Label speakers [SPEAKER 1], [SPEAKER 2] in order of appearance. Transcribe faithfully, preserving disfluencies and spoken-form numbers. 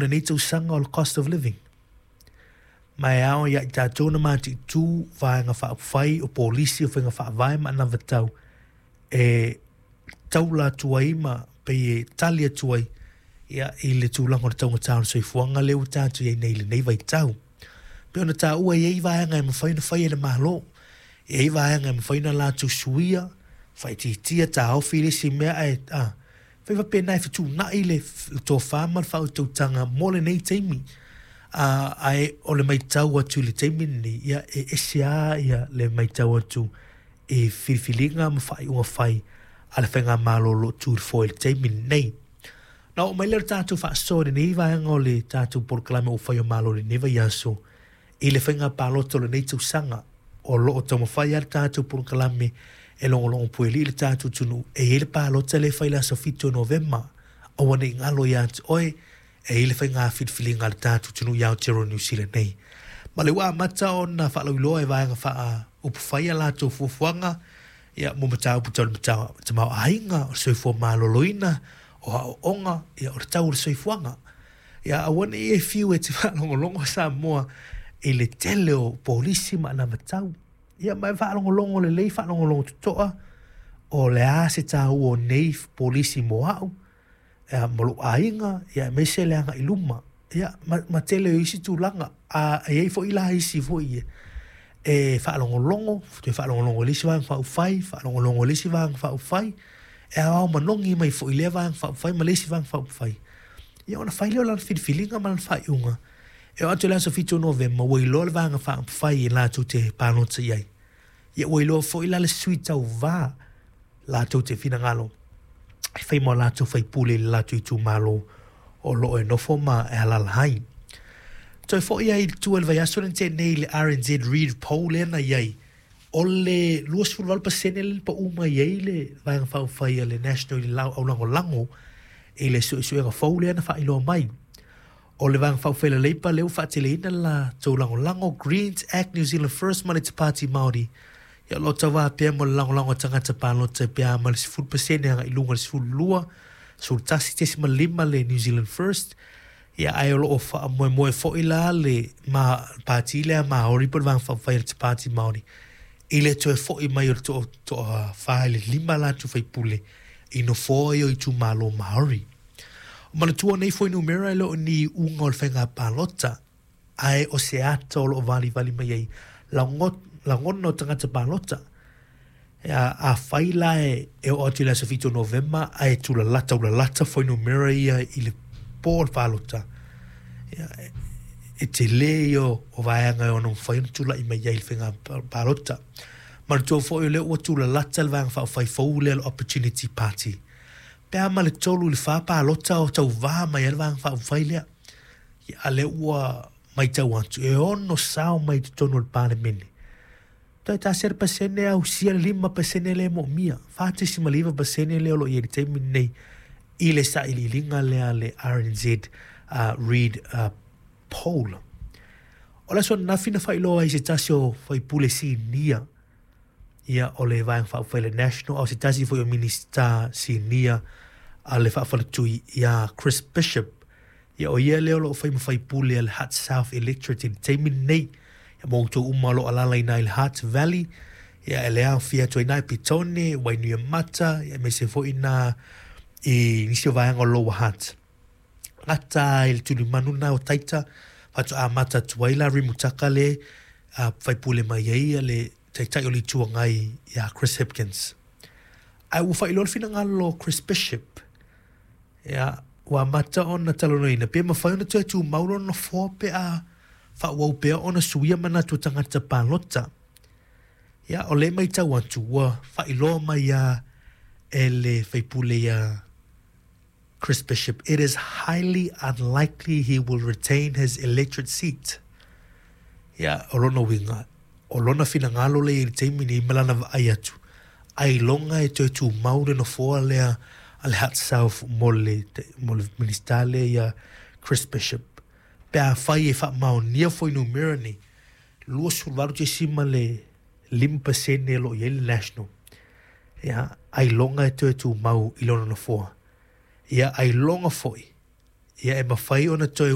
[SPEAKER 1] Lenei tausaga o le cost of living. Ma e ao ia i tatou na mataitu vaega faaupufai o polisi o faiga faavae ma anavatau e taula atu ai ma pei e tali atu ai ia, i le tulaga o le taugata o le soifuaga lea ua tatou i ai nei i lenei vaitau. Pei ona taua e i ai vaega e mafai ona faia e le Malo, e i ai vaega e mafai ona latou suia, faaitiitia, taofi le isi mea ae a, fai faapena e fetuunai le, le tofa ma le faautautaga mo lenei taimi. Uh, ae o le matau atu i le taimi lenei, ia, e ese lava ia, le matau atu i filifiliga ma faaiuga fai a le faigamalo o lo o tu i le foe i le taimi lenei. Na oo mai lea o le tatou faasoa i lenei vaega o le tatou polokalame ua fai o Malo i lenei vaiaso i le faiga palota o lenei tausaga. O lo o taumafai lava le tatou polokalame e logologo puelii le tatou atunuu e i ai le palota lea e fai i le aso fitu o Novema. Aua ne i galo ia te oe, e i ai le faiga filifiliga a le tatou atunuu i Aotearoa Niu Sila nei. Ma le ua amata ona faalauiloa e vaega faaupufai a latou fuafuaga ia, mo mataupu tau le tamaoaiga, o le soifua maloloina, o aoaoga, ia, o le tau o le soifuaga. Ia, aua ne i e fiu e te faalogologo Samoa i le tele o polisi ma anavatau. Ia, ma e faalogologo lelei, faalogologo totoa, o le a se taua o nei polisi mo au, ia, mo lou aiga, ia, aemaise le agai i luma. Ia, ma, ma tele o isi tulaga. A e i ai foi la isi foi e, e faalogologo, toe faalogologo i le isi vaega faaupufai, faalogologo i le isi vaega faaupufai, e aoao manogi mai foi i lea vaega faaupufai ma le isi vaega faaupufai. Ia ona fai lea o lana filifiliga ma lana faaiuga. E oo atu i le aso fitu o Novema, ua iloa le vaega faaupufai e latou te palota i ai. Ia ua iloa foi la le sui tauva latou te finagalo e fai ma o latou faipule i le latou itumalo o lo o e nofo ma e alaala ai. Toe foi ai i tua i le vaiaso lea na tea nei i le R N Z Reid Poll lea na i ai, o le luasefulu valu pasene lea na pau mai ai le Vaega Faaupufai a le National i le aulagolago i le suesuega fou lea na faailoa mai. O le Vaega Faaupufai a le Labour lea ua faateleina le latou lagolago, Greens, Act New Zealand First ma le Te Pāti Māori. Ia, o lo o tauva pea mo le lagolago a tagata palota pe a ma le sefulu pasene agai i luga i le sefulu lua, sefulu tasi tesima lima le New Zealand First. Ia, ae o lo o faamoemoe foi la le ma, pāti lea Māori po o le Vaega Faaupufai a le Te Pāti Māori i le toe foi mai o le toa, toa whā i le lima latou faipule i nofoa ia o itumalo Māori. O manatua nei fuainumera e le o ni iuga o le faiga palota, ae o se ata o lo o valivali mai ai lagona o tagata palota. Ia, afai la e, e oo atu i le aso fitu o Novema ae tulalata ulalata fuainumera ia i le po o le palota, ia, e, e tele ia o vaega e ono mafai ona tulai mai ai i le faiga palota. Manatua foi o lea ua tulalata le Vaega Faaupufai fou lea le Opportunity Party. Pe a ma le tolu i le whā palota o tauvā mai ai le Vaega Faaupufai lea. Ia, a lea ua matau atu, e ono sao mai totonu o le Palemene. Toe tasi le pasene ausia le lima pasene lea e moomia. Whā tesima le iva pasene lea o lo o i ai i le taimi lenei i le sailiiliga lea a le R N Z uh, Reid uh, Poll. O le aso ananafi na faailoa ai se tasi o faipule sinia ia o le Vaega Faaupufai le National, au se tasi foi o Minista sinia a le faafaletui ia Chris Bishop. Ia o ia lea o lo o fai ma faipule a le Hutt South Electorate i le taimi lenei. Ia mo outou uma o lo o alaala i ina i le Hutt Valley, ia e le aofia atu ai i ina i Petone, Wainuiomata, ia aemaise foi ina i nisi o vaega o Lower Hutt. Gata ai le tulimanu lena o Taita, faatoa amata atu ai la Rimutaka le uh, faipule mai ai ia le taitai o le Itu Agai ia Chris Hipkins. Ae ua faailoa le finagalo o Chris Bishop, ia, ua amata ona talanoaina pe mafai ona toe tumau lona nofoa pe a faaauau pea ona suia manatu o tagata palota. Ia, o le matau atu ua faailoa mai ia e le faipule ia Chris Bishop, it is highly unlikely he will retain his electorate seat. Ia, o lona uiga, o lona finagalo lea i le taimi nei ma lana vaai atu, ailoga e toe tumau le nofoa lea a le Hutt South mo le, mo le minista lea ia Chris Bishop. Pe a fai e faamaonia fuainumera nei, luasefulu valu tesima le lima pasene o lo o i ai le National. Ia, ailoga e toe tumau i lona nofoa. Ia, ailoga foi Ia e mafai ona toe